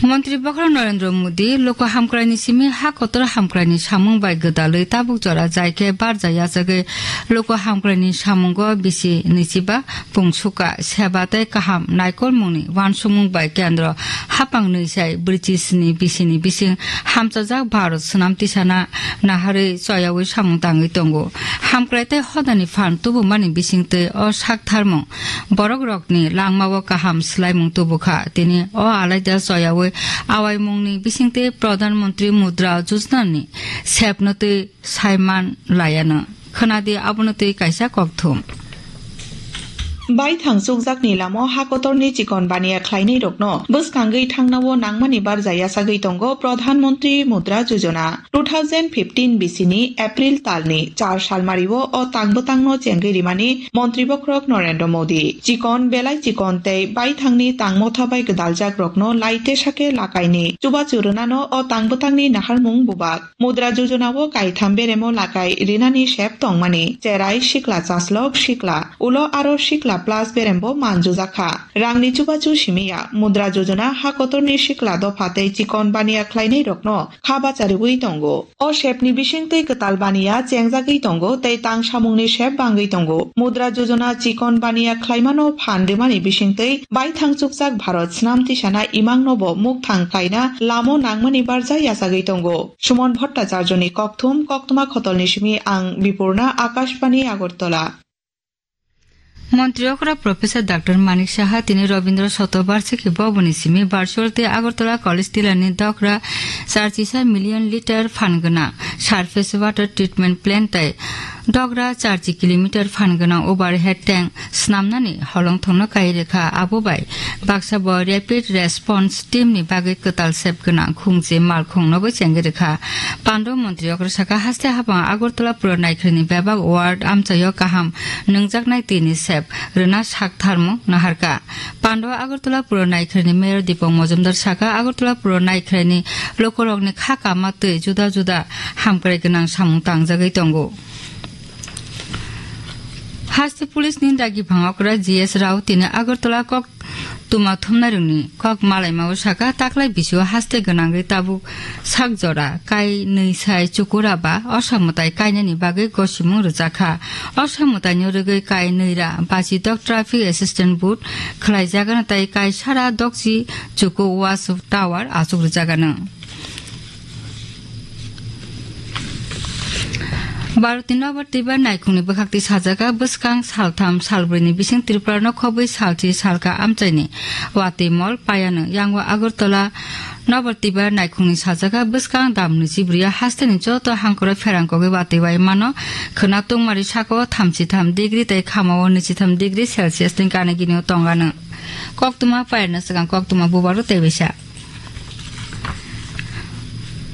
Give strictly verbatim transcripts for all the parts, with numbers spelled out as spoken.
Montri Bokhorok Narendra Modi loko hamkraini simi ha kotor hamkraini samung bai gwdalwi tabuk jora jai khe barja yachagwi loko hamkraini samungo bisi nwichiba pungsuka seba tei kaham naikolmungni uansukmung bai kendro hapang nwisai brichisni bisini bising hamchajak Bharat swnam tisana naharwi choyaui samung tangwi tongo. Hamkrai tei hodani phan tubumani bisingtwi o saktharmung borok rokni langmao kaham swlaimung tubu kha. Tini o alaida choyaui awaimungni bisingtwi Pradhan Mantri Mudra Yojana ni sepno twi saiman layano. Khwnadi abono twi kaisa kokthum. Baithang chukjakni lamo ha kotorni chikon baniya khlainairokno bwskangwi thangnao nangmani barja yachagwi tongo Pradhan Mantri Mudra Yojana. Two thousand fifteen bisini April talni char salmario o tang bwtangno chengwi rimani Montri Bokhorok Narendra Modi. Chikon belai chikon tei baithangni tang motha bai gwdaljak rokno lai tesa khe lakaini chubachu rwnano o tang bwtangni naharmung bubak. Mudra Yojana o kaitham beremo lakai rinani sep tongmani, cherai, sikla chaslok, sikla, ulo aro sikla plus berembo manjujakha. Rangni chubachu simiya Mudra Yojana ha kotorni sikla dopha tei chikon baniya khlainairokno kha bachariwi tongo. O sepni bisingtwi kwtal baniya chengjagwi tongo tei tang samungni sep bangwi tongo. Mudra Yojana chikon baniya khlaimano phan rwmani bisingtwi baithang chukjak Bharat swnam tisana imangno bo mukthang khlaina lamo nangmani barja yachagwi tongo. Suman Bhattacharjoni kokthum, koktwma khotolni simi ang Bipurna, Akashbani Agartala. Montri okra Professor Doctor Manik Saha tini Rabindra Shatobarshiki boboni simi virtual tei Agartala College Tilani dogra charchisa million liter phan gwnang surface water treatment plant tei dogra charchi kilometer phan gwnang overhead tank snamnani holongthokno kai rwkha. Abo bai baksa bo Rapid Response Team ni bagwi kwtal sep gwnang khungchi malkhung nobo chengwi rwkha. Pando montri okra saka haste hapang Agartala pura naikhwrani bebak ward amchaio kaham nwngjaknai twi ni sep rwna sak tharmung naharkha. Pando Agartala pura naikhwrani Mayor Dipok Mojumdar saka Agartala pura naikhwrani lokorokni kha kama twi juda juda hamkrai gwnang samung tangjagwi tongo. Haste police ni dagi phangokra G S Rao tini Agartala kok tuma thumnairokni kok malaimao saka taklai bisio haste gwnangwi tabuk sak jora kai nwi sai chukura ba osa mwtai kainani bagwi gosimung rwjakha. Osa mwtaino rwgwi kai nwi ra bachidok traffic assistant booth khwlaijagano tei kai sara dokchi chuku watch tower achuk rwjagano. Bharotni Nobar Twibar naikhungni bwkhakti sajaka bwskang saltham salbrwini bising Tripura no khobwi salchi salka amchaini watwi mol payano yango Agartala Nobar Twibar naikhungni sajaka bwskang dam nwichibrwi hasteni joto hangkoro pherang kogwi watwi bai mano khwna tungmari sako thamchi tham degree tei khamao nwichi tham degree Celsius ni gana gini o tongano. Koktwma payarna swkang koktwma bubaro teibaisa.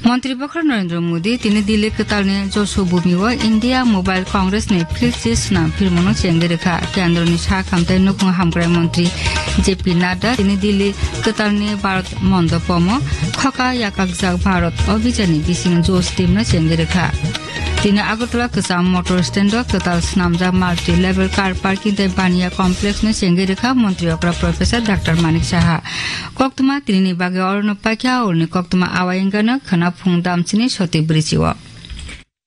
Montri Bokhorok Narendra Modi tini Delhi kwtalni Josho Bhumi o India Mobile Congress ni field swnam phirmano chengwi rwkha. Kendroni sak hamtai nukhung hamkrai montri J P Nadda tini Delhi kwtalni Bharat Mondopomo khoka yakakjak Bharat Abhijanni bising Josh teamno chengwi rwkha. Tini Agartala kwcham motor stand o kwtal swnamjak multi level car parking tei baniya complex no chengwi rwkha montri okra Professor Doctor Manik Saha. Koktwma tinini bagwi orono paikha, oroni koktwma awai wngkha no khwna phung damchini soti bwrwi chio.